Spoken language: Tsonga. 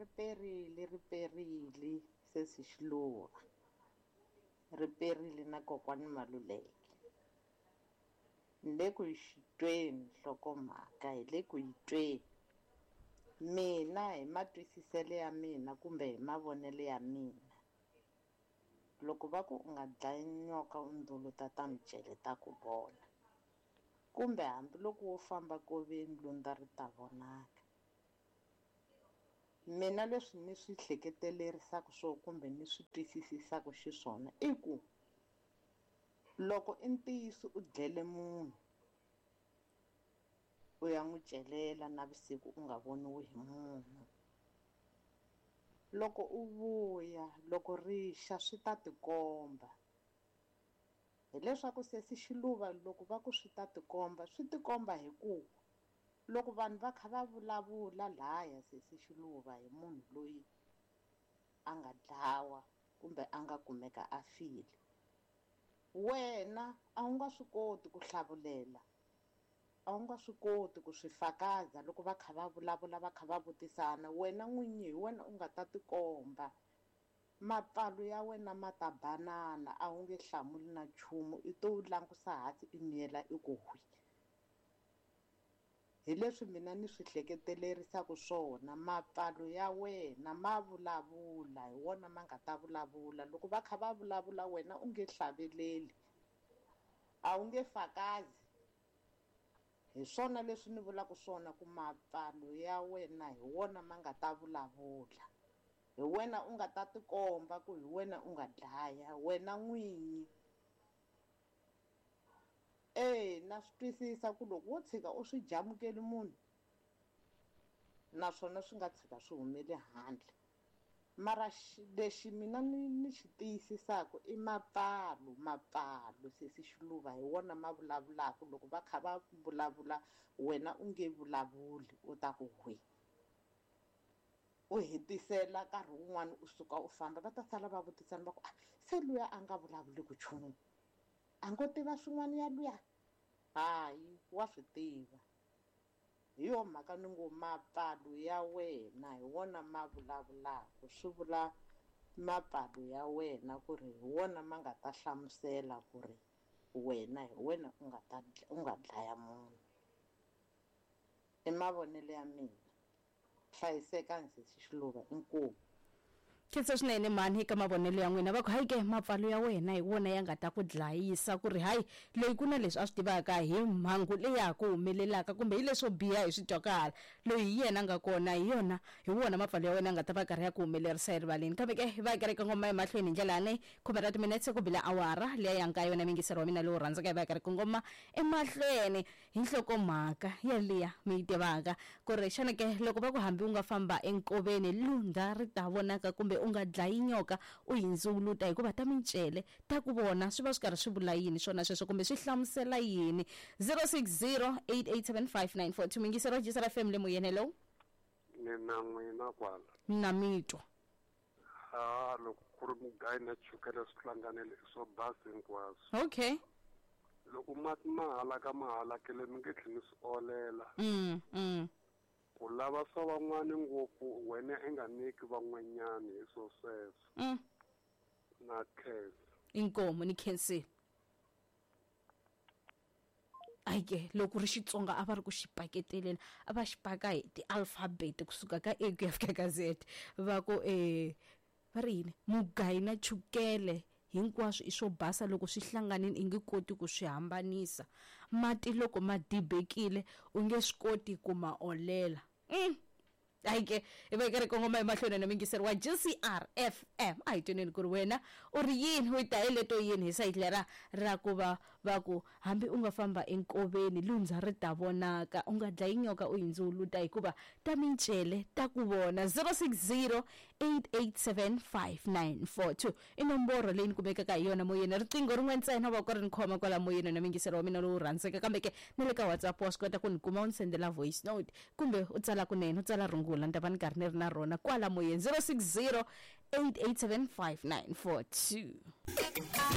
Ri perile, ri perile sesi Xiluva. Ri perile na kokwani Maluleke. Ni le ku yi tweni nhlokomhaka, hi le ku yi tweni. Mina hi matwisiselo ya mina kumbe hi mavonelo ya mina, loko va ku u nga dlayi nyoka u ndzuluta ta micele ta ku vona, kumbe hambiloko wo famba nkoveni lundza ri ta vonaka. Mina leswi ni swi hleketelerisaka swona kumbe ni swi twisisaka xiswona i ku loko i ntiyiso u dlele munhu, u ya n'wi celela navusiku u nga voniwi hi munhu, loko u vuya loko ri xa swi ta tikomba. Hileswaku sesi Xiluva loko va ku swi ta tikomba, swi tikomba hi ku loko vanhu va kha va vulavula laya sesi Xiluva hi munhu loyi a nga dlawa kumbe a nga kumeka a file, wena a wu nga swi koti ku hlavulela, a wu nga swi koti ku swi fakaza loko va kha va vulavula va kha va vutisana, wena n'winyi hi wena u nga ta tikomba. Mapfalo ya wena ma ta banana, a wu nge hlamuli na nchumu, i to langusa hansi i miyela i ku hwi. Hi leswi mina ni swi hleketelerisaka swona, mapfalo ya wena ma vulavula, hi wona ma nga ta vulavula. Loko va kha va vulavula wena u nge hlaveleli, a wu nge fakazi. Hi swona leswi ni vulaka swona ku mapfalo ya wena hi wona ma nga ta vulavula. Hi wena u nga ta tikomba ku hi wena u nga dlaya, wena n'winyi. Na swi twisisa ku loko wo tshika u swi jamukeli munhu, naswona swi nga tshika swi humele handle. Mara lexi mina ni xi tiyisisaka i mapfalo, mapfalo sesi Xiluva hi wona ma vulavulaka. Loko va kha va vulavula wena u nge vulavuli, u ta ku hwi. U hetisela nkarhi wun'wani u suka u famba, va ta sala va vutisana va ku, se luya a nga vulavuli ku nchumu, a ngo tiva swin'wana ya luya? Hayi, wa swi tiva. Hi yo mhaka ni ngo mapfalo ya wena hi wona ma vulavulaka, swi vula mapfalo ya wena ku ri hi wona ma nga ta hlamusela ku ri wena hi wena u nga ta u nga dlaya munhu. I mavonelo ya mina. Hlayisekani sesi Xiluva, inkomu. Khensa swinene mhani eka mavonelo ya n'wina. Va ku hayi ke mapfalo ya wena hi wona ya nga ta ku dlayisa, ku ri hayi loyi ku na leswi a swi tivaka hi mhangu leyi ya ha ku humelelaka kumbe hi leswo biha hi swi twaka hala, loyi hi yena a nga kona, hi yona hi wona mapfalo ya wena ya nga ta va karhi ya ku humelerisa erivaleni. Kambe ke hi va kereke ngoma emahlweni hi ndlela yaleyi, khume ra timinetse ku bile awara liya ya nkaye, wena muyingiseri wa mina lowu rhandzaka, hi va kereke ngoma emahlweni hi nhlokomhaka yaliya mi yi tivaka ku ri xana ke loko va ku hambi u nga famba enkoveni lundza ri ta vonaka kumbe u nga dlayi nyoka u yi ndzuluta hikuva ta mincele ta ku vona, swi va swi karhi swi vula yini swona sweswo kumbe swi hlamusela yini? 0608875942 muyingiseri wa Jisara FM le moyeni. Hello. Ni na n'wina kwala. Na mi twa. Ha loko ku ri mugayi na chukele swi hlanganile i swo basa hinkwaswo. Okay. Loko mati ma halaka ma halakile mi nge tlheli mi swi olela. Ku lava swa van'wani ngopfu wena i nga nyiki van'wanyani hi swo sweswo. Na khensa. Inkomu ni khensile. Hayi ke loko ri Xitsonga a va ri ku xi paketeleni, a va xi paka hi ti-alphabet kusuka ka A ku ya fika ka Z. Va ku va ri yini, mugayi na chukele hinkwaswo i swo basa, loko swi hlanganile i nge koti ku swi hambanisa. Mati loko ma dibekile u nge swi koti ku ma olela. Hayi ke hi va karhi kongoma emahlweni na muyingiseri wa GCR FM. A hi tweneni ku ri wena u ri yini, u yi ta hi leto yini hi sayiti lera ra ku va va ku hambi u nga famba enkoveni lundza ri ta vonaka, u nga dlayi nyoka u yi ndzuluta hikuva ta mincele ta ku vona. 0608875942 i nomboro leyi ni kumekaka hi yona moyeni. Riqingho rin'we ntsena va ku ri ni khoma kwala moyeni na muyingiseri wa mina lowu rhandzeka, kambe ke na le ka WhatsApp wa swi kota ku ni kuma u ni sendela voice note kumbe u tsala kunene, u tsala rungula, ni ta va ni karhi ni ri na rona kwala moyeni. 0608875942.